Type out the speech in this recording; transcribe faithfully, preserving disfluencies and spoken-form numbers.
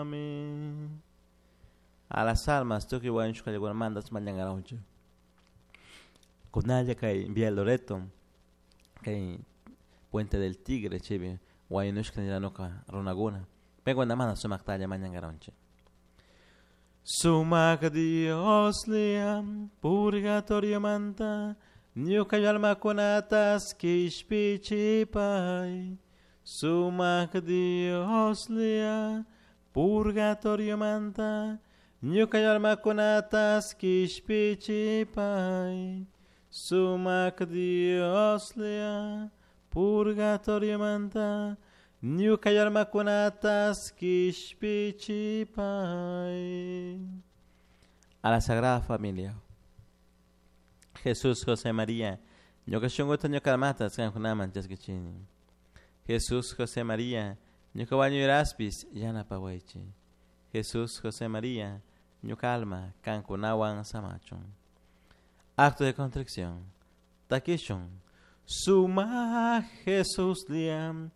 Amén. A las almas tukuy wañushkallakunamanta mañankaranchik. Kunalla kay Villa Loreto, kay Puente del Tigre chaypi wañushka niranuka runakuna paykunamanta sumaktalla mañankaranchik. Sumak Dioslla purgatoriomanta ñuka almakunatas kishpichipay. Sumak Dioslla purgatoriomanta ñuka almakunatas kishpichipay. Sumak Dioslla purgatoriomanta ñuka almakunatas kishpichipay. A la Sagrada Familia. Jesús, José, María, ñuka shunkuta ñuka almata kankunaman chaskichini. Jesús, José, María, ñuka wañuyraspis yanapawaychik. Jesús, José, María, ñuka alma kankunawan samachun. Acto de contrición. Takishun. Suma Jesús liam